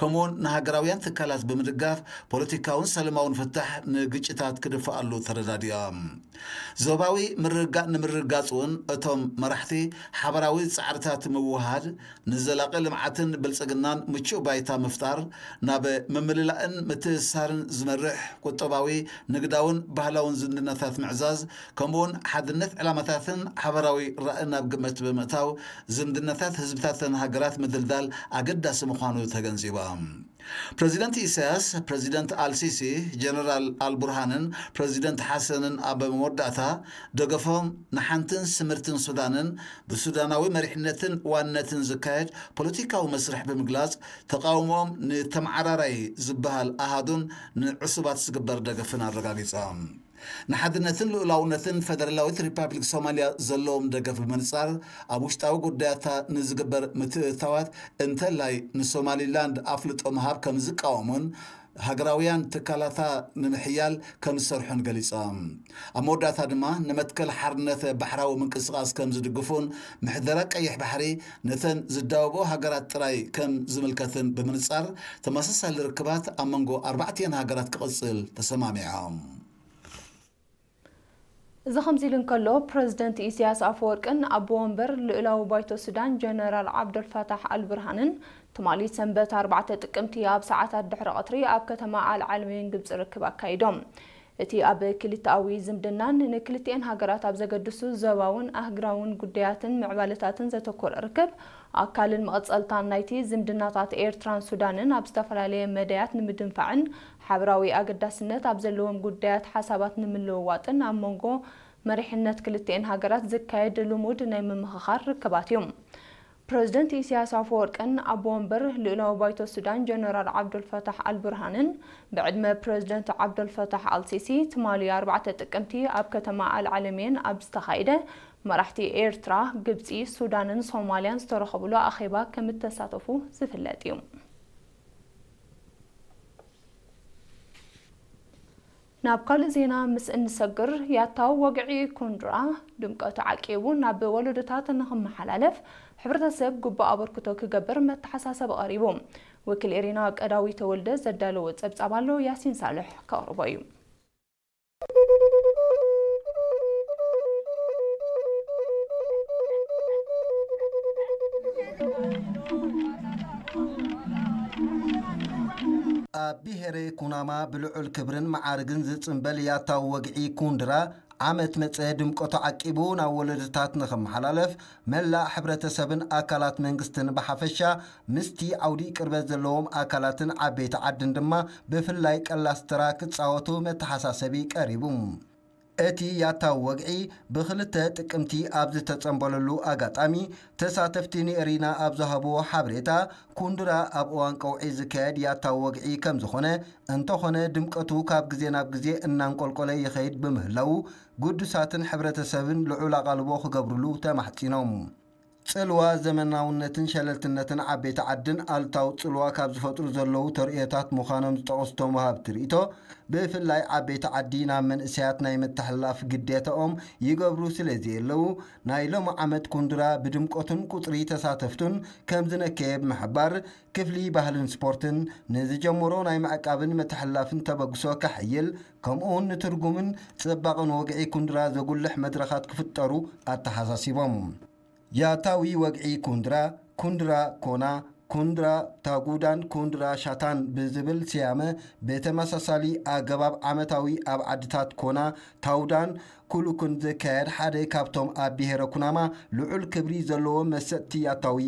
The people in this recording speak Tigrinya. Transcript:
ከምኡውን ንሃገራውያን ትካላት ብምድጋፍ ፖለቲካውን ሰላማውን ፍታሕ ንግጭታት ክድፍኣሉ ተረዳዲኦም። ዞባዊ ምርግጋእ ንምርግጋጽ እውን እቶም መራሕቲ ሓበራዊ ጻዕርታት ምውሃድ፣ ንዘላቒ ልምዓትን ብልጽግናን ምቹእ ባይታ ምፍጣር፣ ናብ ምምልላእን ምትእስሳርን ዝመርሕ ቁጠባዊ፣ ንግዳውን ባህላውን ዝምድናታት ምዕዛዝ፣ ከምኡውን ሓድነት ዕላማታትን ሓበራዊ ራእን ኣብ ግምት ብምእታው፣ ዝምድናታት ህዝብታተን ሃገራት ምድልዳል ኣገዳሲ ምዃኑ ተገንዚቦም። ፕረዚደንት ኢሳያስ፣ ፕረዚደንት ኣልሲሲ፣ ጀነራል ኣልቡርሃንን ፕረዚደንት ሓሰንን ኣብ መወዳእታ ደገፎም ንሓንትን ስምርትን ሱዳንን ብሱዳናዊ መሪሕነትን ዋንነትን ዝካየድ ፖለቲካዊ መስርሕ ብምግላጽ፣ ተቓውሞኦም ንተመዓራራይ ዝበሃል ኣሃዱን ንዕሱባት ዝግበር ደገፍን ኣረጋጊጾም። ንሓድነትን ልኡላውነትን ፈደራላዊት ሪፓብሊክ ሶማልያ ዘለዎም ደገፍ ብምንጻር፣ ኣብ ውሽጣዊ ጉዳያታ ንዝግበር ምትእትታዋት፣ እንተላይ ንሶማሊላንድ ኣፍልጦ ምሃብ ከም ዝቃወሙን ሃገራውያን ትካላታ ንምሕያል ከም ዝሰርሑን ገሊጾም። ኣብ መወዳእታ ድማ ንመትከል ሓርነት ባሕራዊ ምንቅስቓስ ከም ዝድግፉን ምሕደራ ቀይሕ ባሕሪ ነተን ዝዳወቦ ሃገራት ጥራይ ከም ዝምልከትን ብምንጻር፣ ተመሳሳሊ ርክባት ኣብ መንጎ ኣርባዕቲአን ሃገራት ክቕጽል ተሰማሚዖም። እዚ ከምዚ ኢሉ እንከሎ፣ ፕረዚደንት ኢሳያስ ኣፈወርቅን ኣቦ ወንበር ልኡላዊ ባይቶ ሱዳን ጀነራል ዓብደልፋታሕ ኣልብርሃንን ትማሊ ሰንበት ኣርባዕተ ጥቅምቲ ኣብ ሰዓታት ድሕሪ ቀትሪ ኣብ ከተማ ኣል ዓለሜን ግብጺ ርክብ ኣካይዶም። እቲ ኣብ ክልተኣዊ ዝምድናን ንክልቲኤን ሃገራት ኣብ ዘገድሱ ዞባውን ኣህጉራውን ጉዳያትን ምዕባለታትን ዘተኮረ ርክብ፣ ኣካልን መቐጸልታን ናይቲ ዝምድናታት ኤርትራን ሱዳንን ኣብ ዝተፈላለየ መዳያት ንምድንፋዕን ሓበራዊ ኣገዳስነት ኣብ ዘለዎም ጉዳያት ሓሳባት ንምልውዋጥን ኣብ መንጎ መሪሕነት ክልቲኤን ሃገራት ዝካየድ ልሙድ ናይ ምምኽኻር ርክባት እዩ። ፕረዚደንት ኢሳያስ ኣፈወርቅን ኣቦ ወንበር ልኡላዊ ባይቶ ሱዳን ጀነራል ዓብዱልፈታሕ ኣልቡርሃንን ብዕድመ ፕረዚደንት ዓብዱልፈታሕ ኣልሲሲ ትማሊ ኣርባዕተ ጥቅምቲ ኣብ ከተማ ኣልዓለምየን ኣብ ዝተኻየደ መራሕቲ ኤርትራ፣ ግብጺ፣ ሱዳንን ሶማልያን ዝተረኸብሉ ኣኼባ ከም እተሳተፉ ዝፍለጥ እዩ። ናብ ካልእ ዜና ምስ እንሰግር፣ ያታው ወግዒ ኩንድራ ድምቀቱ ዓቂቡ ናብ ወለዶታት ንኽመሓላለፍ ሕብረተሰብ ግቡእ ኣበርክቶ ክገብር መተሓሳሰቢ ቀሪቡ። ወኪል ኤሪና ቀዳዊ ተወልደ ዘዳለዎ ጸብጻብ ኣሎ፣ ያሲን ሳልሕ ከቕርቦ እዩ። ኣብ ብሄረ ኩናማ ብልዑል ክብርን መዓርግን ዝጽንበል ያታዊ ወግዒ ኩንድራ፣ ዓመት መጸ ድምቀቱ ዓቂቡ ናብ ወለዶታት ንኽመሓላለፍ፣ መላእ ሕብረተሰብን ኣካላት መንግስትን ብሓፈሻ፣ ምስቲ ዓውዲ ቅርበት ዘለዎም ኣካላትን ዓበይቲ ዓድን ድማ ብፍላይ ቀላስ ተራ ክጻወቱ መተሓሳሰቢ ቀሪቡ። እቲ ያታዊ ወግዒ ብክልተ ጥቅምቲ ኣብ ዝተጸንበለሉ ኣጋጣሚ፣ ተሳተፍቲ ንኤሪና ኣብ ዝሃብዎ ሓበሬታ፣ ኩንድራ ኣብ እዋን ቀውዒ ዝካየድ ያታዊ ወግዒ ከም ዝኾነ፣ እንተኾነ ድምቀቱ ካብ ግዜ ናብ ግዜ እናንቆልቆለ ይኸይድ ብምህላዉ፣ ግዱሳትን ሕብረተሰብን ልዑል ኣቓልቦ ክገብርሉ ተማሕጺኖም። ጽልዋ ዘመናውነትን ሸለልትነትን ዓበይቲ ዓድን ኣሉታዊ ጽልዋ ካብ ዝፈጥሩ ዘለዉ ተርእዮታት ምዃኖም ዝጠቐሱ እቶም ወሃብቲ ርእይቶ፣ ብፍላይ ዓበይቲ ዓዲ ናብ መንእሰያት ናይ ምትሕልላፍ ግዴታኦም ይገብሩ ስለ ዘየለዉ፣ ናይ ሎሚ ዓመት ኩንድራ ብድምቀቱን ቁጽሪ ተሳተፍቱን ከም ዝነከየ ብምሕባር፣ ክፍሊ ባህልን ስፖርትን ንዝጀመሮ ናይ ምዕቃብን ምትሕልላፍን ተበግሶ ከሐይል፣ ከምኡውን ንትርጉምን ጽባቐን ወግዒ ኩንድራ ዘጉልሕ መድረኻት ክፍጠሩ ኣተሓሳሲቦም። ያታዊ ወግዒ ኩንድራ፣ ኩንድራ ኮና፣ ኩንድራ ታጉዳን ኩንድራ ሻታን ብዝብል ስያመ ብተመሳሳሊ ኣገባብ ዓመታዊ ኣብ ዓድታት ኮና፣ ታውዳን ኩሉኩን ዝካየድ ሓደ ካብቶም ኣብ ብሄረ ኩናማ ልዑል ክብሪ ዘለዎ መሰጥቲ ያታዊ